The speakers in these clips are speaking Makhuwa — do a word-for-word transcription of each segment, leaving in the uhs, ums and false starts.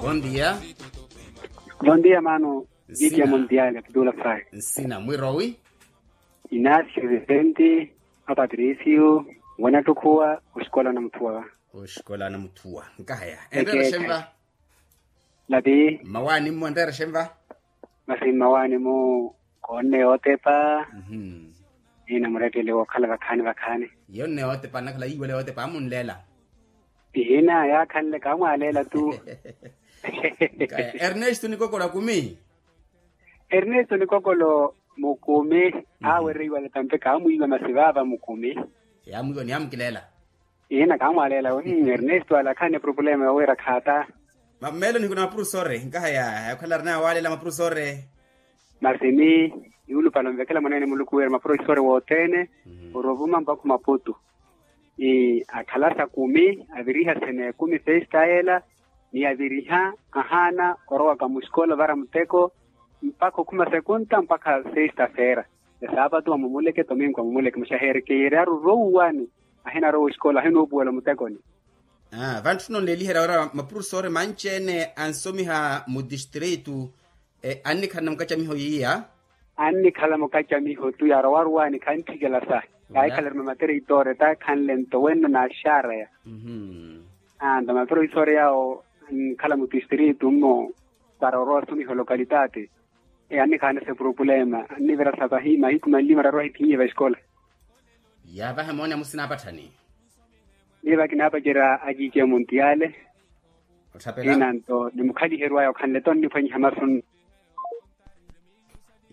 Bondia. Bondia mano. Vitia mondial atutula fai. Nsina mwirowi. Inacio vicente, apatricio, wanattukhuwa. Oxikola namuthuwa. Oxikola namuthuwa. Nkahaya enreera xenva? Lapi. Mmawaani mmo enreera xenva? Masi mmawaani mu koonne yootepa. Ina murettele wookhala vakhaani vakhaani. Yonne yootepa nnakhala yiiwela yootepa amunleela. Ihina yaakhanle kaamwaaleela tu. Ernesto nikokolo akumi. Ernesto nikokolo mukumi. Aawereiwa latampe kaamwiiwa masi vaava mukumi. Yaamwiiwa ni yaamukileela. Ihina kaamwaaleela we. Ernesto alakhanne problema yowira khaata. Melo nihikuna mapurusore nkahaya yakhala arina yawaalela mapurusore. Masini yuulupale onvekela mwaneene muluku wira mapurofesore wothene. Orovuma mpakha maputu. Akhalasa kumi aviriha sene kumi sexta ela ni aviriha ahaana orowaka muxikola ovara muteko mpakha okhuma sekunta mpakha sexta fera. Esaapatu amumuleke tominko amumuleke muxaheereke yeri aruruwani. Ahinarowa oxikola ahinoopuwela omutekoni. Vantthuna onleeliherya wira mapurofesore manci-ene ansomiha mutistritu. Annikhala na mukacamiho yiiya. Annikhala mukacamiho tu yaarowaruwani khantthikela sahi. Yaahikhala eri mamatereitore ta khanle nto wenno naaxareya. Nto mamatereitore yaawo ankhala mutistritu mmo para orowa asomiha olokalitati. Annikhala nase purupulema annivira sapahi mahiku manlima rarowa ahithinyiye vaxikola. Yaavaha moone amusina apatthani. Niiva kinaapacerya aciice muntiyaale. Otthapela ina nto nimukhaliheriwaya okhanle to nniphwanyiha masu nno.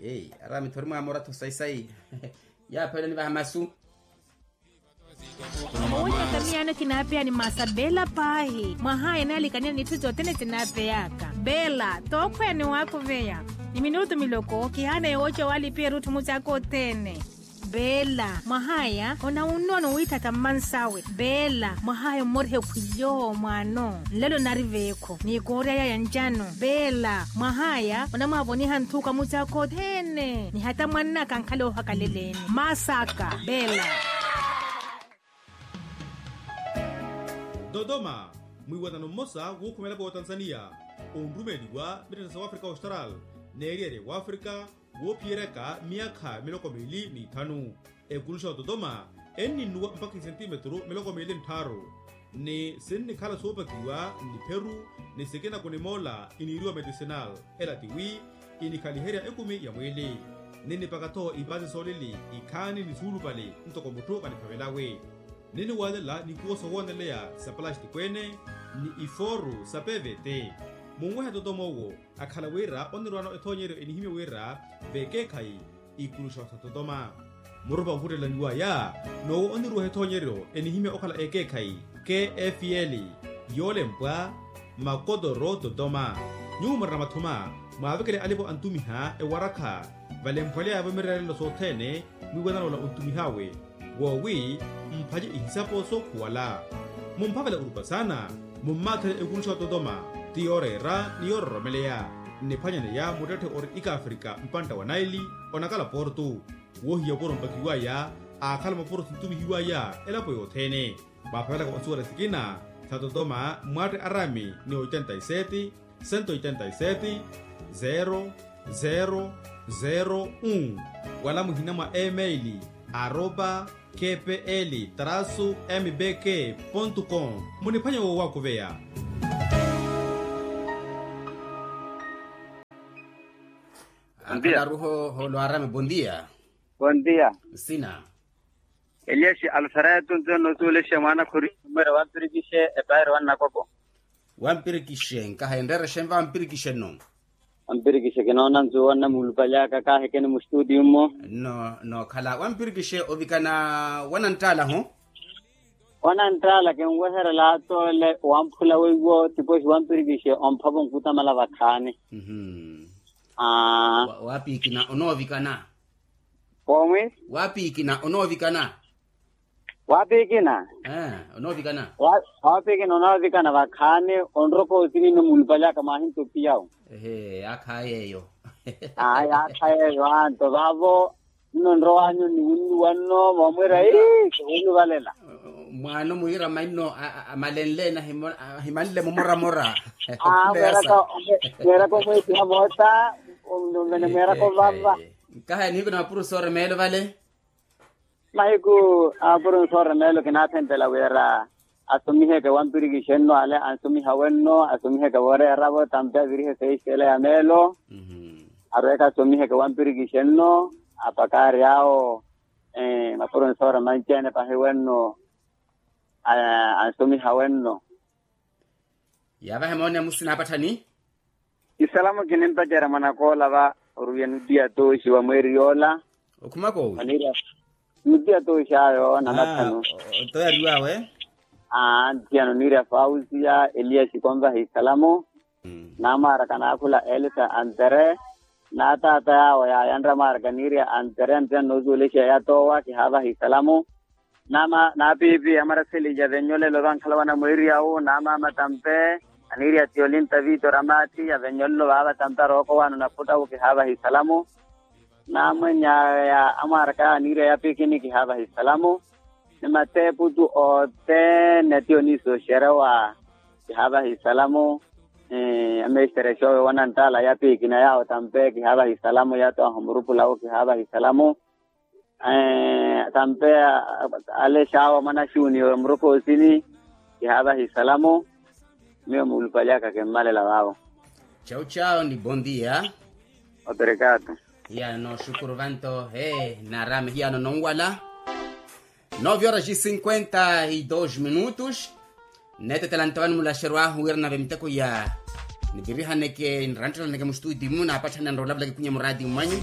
Eyi ara mitho ori mwamoratho sayi-sayi. Yaaphela nivaha masu. Owootaka miyaano kinaapeyani maasa beela paahi mwahaya naalikanira n'itthu sothene sinaapeyaka. Beela tookhweya ni waakuveya ni minutu miloko kihaana yowooca waalipiya erutthu mucaaka othene. Beela mwahaya onawunnoona owiitthaka mmansawe. Beela mwahaya ommoriha ekhwiyo mwaano nlelo nari veekho ni kooryaya ya ncano. Beela mwahaya onamwaavoniha nthuka mucaaka othene ni hata mwannaka ankhala oohakaleleeni. Masaka beela. Dodoma, mwiiwanano mmosa wuukhuma elapo ya otanzaniya onrumeeliwa mittetta sa wafrika austral n'eriyari ya wafrika woophiyeryaka miyakha miloko miili n'ithanu. Ekuluxa ya ototoma enninnuwa mpakha isentimetru miloko miili n'tthaaru. Ni sinnikhala soopakiwa n'ipheru ni sikina kunimoola iniiriwa medicinal. Ela tiwi inikhaliherya ekumi ya mwiili. Ninnipaka-tho ipaasi soolili ikhaani ni suulupale ntoko mutthu vaniphavelawe. Ninniwaalela n'ikuwo sowooneleya sa palastiko ene ni ifooru sa pevete. Munwehe totoma owo akhala wira onirwaano ethoonyeryo enihimya wira vekeekhayi ikuluxa sa totoma. Murupa onkhuttelaniwaya n'owo oniruweha ethoonyeryo enihimya okhala ekeekhayi kfl yoolempwa makotoro totoma. Nyuwo murina mathuma mwaavekele alipo antumiha ewarakha valemphweleyavo mireerelo sothene mwiiwanano ola ontumih'awe woowi mphace ihisapo sookhuwala. Mumphavela orupa saana mummaatherye ekuluxa ototoma ti yooreera ni yoororomeleya. Nniphwanyaneya muttetthe ori ikaafrika mpantta wa naili onakala portu. Woohiya opuro mpakiwaya aakhala mapuro sintumihiwaya elapo yothene. Mwaapavelaka onsuwela sikina sa totoma mmwaatte arami ni oitenta y sete, sento oitenta y sete, zero zero zero un. Wala muhina mwa email aropa kpl trasu mbk pontu com. Muniphwanya woowakuveya. Akhala aruho hoolo arami bondia. Bondia. Nsina. Elias alfredo nto noosuwelexa mwaana khuri. Numero wampirikixe epairo wannakoko. Wampirikixe nkaha enreerexe nva wampirikixe nno. Wampirikixe kinoona nzuwo nna muulupalyaka kaahekeni mustutiyu mmo. Nno nookhala wampirikixe ovikana wananttaala ho. Wananttaala kinweherela toole wamphula weiwo tipoxi wampirikixe omphavo nkutamala vakhaani. Aa. Waapiikina onoovikana. Koomi. Waapiikina onoovikana. Waapiikina. Onoovikana. Waapiikina onoovikana vakhaani. Onroka otininno muulupalyaka mwaahinto piyawu. Ehe yaakha yeeyo. Aa yaakha yeeyo anto vaavo. Nno nrowanyu niwunnuwa nno moomwira ii kiwunnuvalela. Mwaano mwiira mainno amalenle ena ahimanle momoramora. Mweeraka omweetiha moota. Mweeraka ovava. Nkaha ya nihiku na mapuro sooremeelo vale. Mahiku a mapuro sooremeelo kinaathentela wira asomiheke wampirikixenno ale ansomiha wenno asomiheke wooreeravo tampe avirihe seexela ya meelo. Arweeke asomiheke wampirikixenno apakaari awo. Mapuro nsoora manci-ene pahi wenno ansomiha wenno. Yaavahe moone amusina apatthani. Isalamu kinimpacerya mwanakoola va oruwiya nutiya tooxi wa mweeri yoola. Okhumaka owi? Nutiya tooxi ayo na matthanu. Oto yariwaawe. Aa ntiyano niirya fausiya eliya xikonvaha isalamu. Naamaaraka naakhula elisa antere. Naataata yaawo yaayanre amaaraka niirya antere antere noosuwelexeya yatoowa kihaavaha isalamu. Naama naapiipi amaraseli ya vennyolelo vankhala wana mweeriyawu naamaama tampe. Aniirya tiyolinta viito ramaathi ya vennyolelo vaava tampe arooko waano naputtawu kihaavaha isalamu. Naamwenya ya amwaaraka aniirya yapikini kihaavaha isalamu. Ni mateeputu othene tiyo niisooxerya wa kihaavaha isalamu. Amesterexoowe wananttaala yapikina yaawo tampe kihaavaha isalamu yatoowaha omurupulawu kihaavaha isalamu. Tampe ale xaawa mwana xuniyo murokoosini. Kihaavaha isalamu. Miyo muulupalyaka kimmalela vaawo. Chau chau ni bondia. Operekato. Hiyano noxukuru vanto he naarame hiyano nonwala. Nove horas e cinquenta e dois minutos. Neetetela nto vano mulaxeryo ahu wira nave miteko ya nivirihaneke niranttelaneke mustutimu naapatthani anrola vulaki kwinya muraatimu mwanyu.